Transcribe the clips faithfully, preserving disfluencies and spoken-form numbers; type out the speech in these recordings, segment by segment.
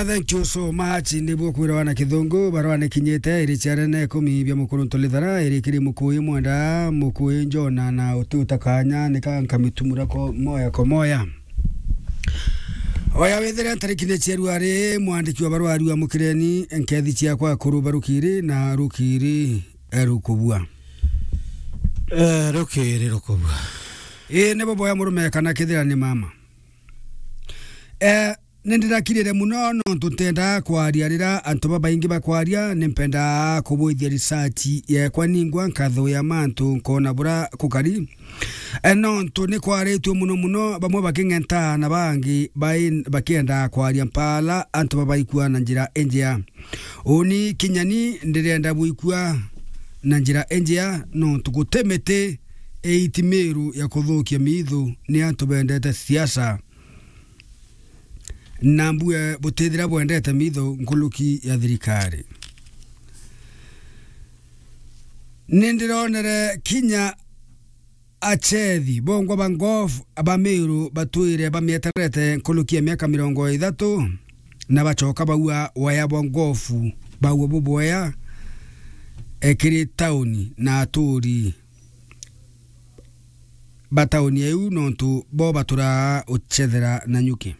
Thank you so much. Nibwo kwira wana kithungu, barua ni kinyite, iri ciarene ikumi bia mukuru ntulithara, iri kiri mukuyi mwenda, mukuyi njona na uti utakanya, nika nkamitumura ko moya ko moya. Oya withire ntariki ni ciaru ari, mwandiki wa barua ariwa mukireni, nkethi ciakwa kuru barukiri na rukiri, eh, rukubua. Eh, rukiri rukubua. Ii, nibo boya murume kana kithira ni mama. Eh, Nindirakirire muno nontu ntendaa kwaria rira antu babaingi bakwaria, nimpendaa kubwithia research yekwa ningwa nkathuya mantu nkona bura kukari. E, nontu ni kwaritue muno muno, bamwe baking'entaa na bangi bai-, bakiendaa kwaria mpala antu babaikua na njira injea. Uni kinya ni ndirenda bwikua na njira injea, nontu guti miti iiti miru ya kuthukia miithu ni antu bendete siasa. Na mbue butithira bwendete mitho nkuruki ya thirikari. Nindironere kinya achethi bongwa ba ngofu ba Meru batwire bamieterete nkuruki ya miaka mirongo ithatu, na bachoka baua waya bwa ngofu, baua bubwea, e, kiri tauni na aturi ba tauni iu, nontu bo baturaa uchethera na nyuki.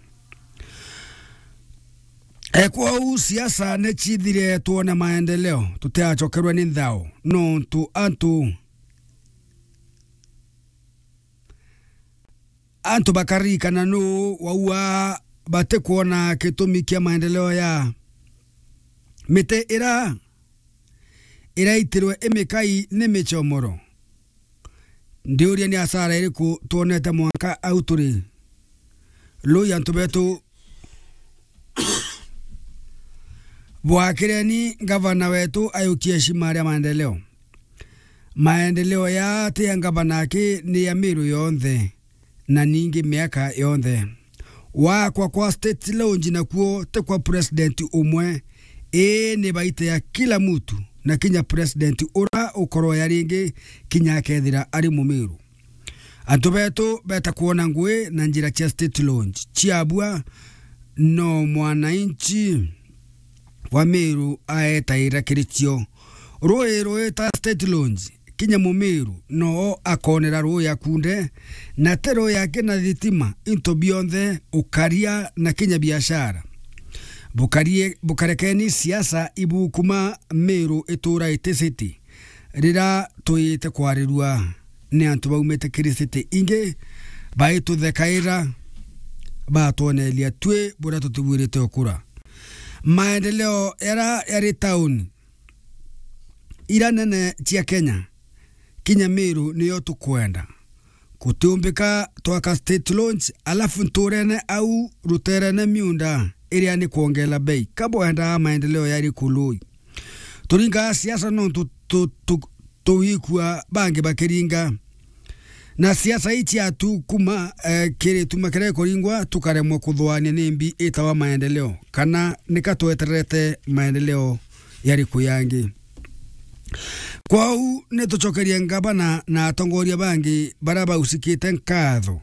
E, kwou siasa ni cithire, twone maendeleo, tutiachokerwe ni nthao, nontu antu, antu bakaririkana nuu waua, batikwona gitumi kia maendeleo ya miti ira iraitirwe imikai ni michomoro. Ndiuria ni asara iriku twonete mwanka au turi? Lui antu betu bwakireni ngavana wetu ayukie shima ria maendeleo. Maendeleo ya ti ya ngavana aki, ni ya Meru yonthe, na ningi miaka yonthe. Wakwa kwa State Lodge nakuo ti kwa president umwe, ii ni baita ya kila mutu, na kinya president ura ukorwa ya ringi kinya akethira ari Mumiru. Antu betu beta kwona ngui na njira cia State Lodge ciabua, no mwananchi wa Meru aetaira kiri cio. Rui rwita State Lodge, kinya Mumiru noo akonera rui akunde, na ti rui aki na thitima, into bionthe, ukaria na kinya biashara. Bukarie-, bukarekeni siasa ibukuma, Meru itura iti city. Rira twite kwarirua ni antu baumite kiri city ingi, baituthekaira, batwoneria twi buria tutibwirite ukura. Maendeleo yara yari tauni ira nene cia Kenya, kinya Meru niyo tukwenda. Gutiumbika twaka State Lodge, alafu nturene au ruterene miunda iria ni kwongela bei. Ka bwendaa maendeleo yari kului? Turingaa siasa nontu tu-, tu-, tuwikua bangi bakiringa. Na siasa ii ciatu kuma, eh, kiri tuma kiria ikuringwa, tukaremwa kuthuania nimbi itawa maendeleo, kana nika twetererete maendeleo yariku yangi. Kwou ni tucokerie ngavana na atongoria bangi baria bausikite nkatho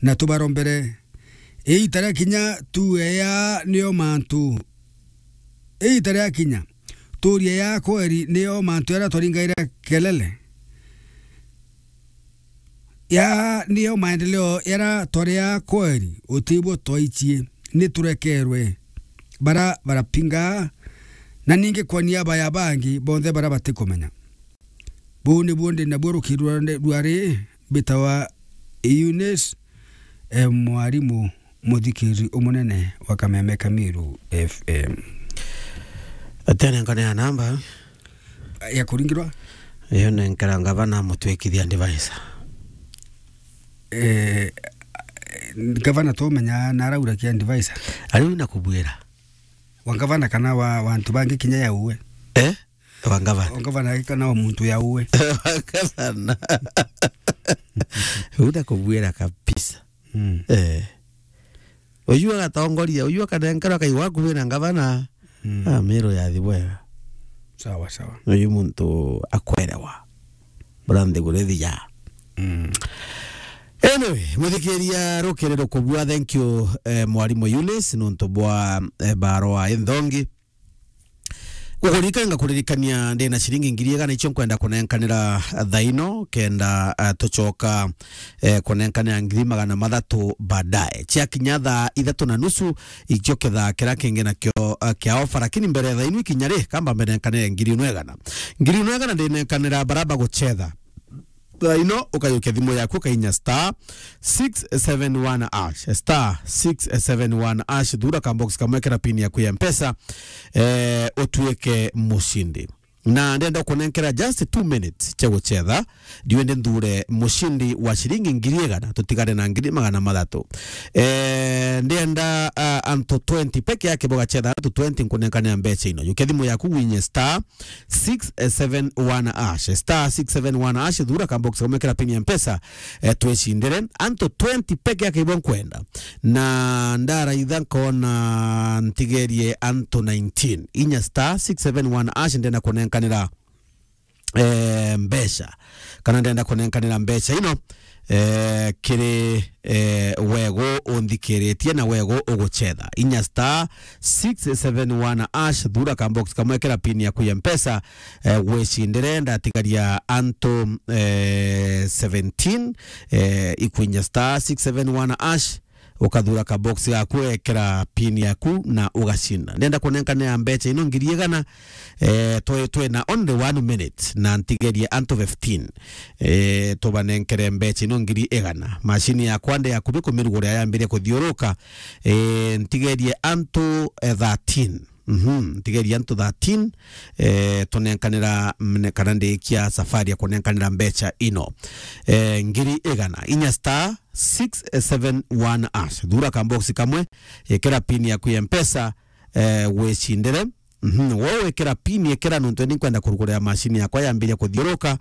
na tubarombere. Iita ria kinya tuuria ya nio mantu. Iita ria kinya tuuria ya kweri nio mantu jaria twaringaira kelele. Ya nio maendeleo jaria twaria kweri, utibwo twaichie, ni turekerwe bara barapinga, na ningi kwa niaba ya bangi bonthe bara batikumenya. Buu nibuo ndi nabuo rukiri rwa ri, mbitawa Eunice, e, mwarimu muthikiri umunene wa Kameme Kamiru F M. Atene nkone ya namba ya kuringirwa? Iyo nenkera ngavana mutwikithia advisor. Eh, ngavana tumenya na araura kia advisor. Ariu na kubwira. Wa ngavana kana wa, wa antu bangi kinya ya uwe? Eh? Wa ngavana. Wa ngavana kana wa muntu ya uwe? Wa ngavana. Uda kubwira kabisa. Mm. Eh. Uyu agatongoria, uyu akanenkerwa kai wakubi na ngavana. Mm. Ah, Meru yathi bwega. Sawa, sawa. Uyu muntu akwerewa. Bura nthiguru ithija. Mm. Anyway, muthikiria, rukiri rukubua, thank you, eh, mwarimu Eunice, nontu bwa, eh, barua inthongi. Gukuririkana, ngakuririkania ndina ciringi ngiri igana icio nkwenda kunenkanira thaino, kenda, eh, tucoka, eh, kunenkanira ngiri magana mathatu baadaye. Ciakinya thaa ithatu na nusu, ikio kithaa kiria kingi nakio, eh, kia ofa, lakini mbere ya thaino ikinya ri, kamba mbenenkanire ngiri ino igana. Ngiri ino igana ndinenkanira bara bagucetha. Thaino, ukajukia thimu yaku, ukainya star six seven one hash, star six seven one hash, thura ka box kamwe, kira pin yaku ya Mpesa, eh, utuike mucindi. Na ndenda kunenkera just two minutes cia gucetha, ndiwende nthure mucindi wa ciringi ngiri igana, tutigare na ngiri magana mathatu. Eh, ndenda, ah, antu twenty peke yake bugacetha, antu twenty nkunenkanira mbeca ino. Jukia thimu yaku, winye star six seven one hash, star six seven one hash, thura ka box kamwe, kira pin ya Mpesa, eh, twicindire. Antu twenty peke yake ibo nkwenda. Na ndaraitha nkona ntigerie antu nineteen. Inya star six seven one hash, ndenda kunenkanira, eh, mbeca. Kana ndenda kunenkanira mbeca ino, eh, kiri, eh, wegu unthikiritie na wegu ugucetha. Inya star six seven one hash, thura ka box kamwe, kira pin yaku ya Mpesa, eh, gwicindire. Ndatigaria antu, eh, seventeen, eh, ikwinya star six seven one hash, ukathura ka box gaku, ekera pin yaku na ugacinda. Ndenda kunenkanira mbeca ino ngiri igana, eh, twi, twi na only one minute, na ntigerie antu fifteen, eh, tubanenkere mbeca ino ngiri igana. Mashini yakwa ndi yakubi kumirugurira yambirie kuthiuruka, eh, ntigerie antu, eh, thirteen. Mhm, ntigerie antu thirteen, eh, tunenkanira mne-, kana ndikia safari ya kunenkanira mbeca ino. Eh, ngiri igana, inya star six seven one hash. Thura ka box kamwe, ekera pin yaku ya Mpesa, eh, wicindire. Mhm, wo wekera pin, ekera nontu ni nkwenda kurugurira mashini yakwa yambiria kuthiuruka.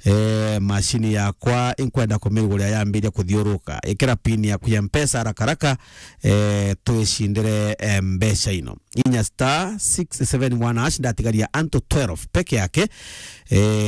Eh, mashini yakwa inkwenda kumirugurira yambiria kuthiuruka. Ekera pin yaku ya Mpesa haraka haraka, eh, twicindire, eh, mbeca ino. Inya star six seven one hash, ndatigaria antu twelve peke yake. Eh,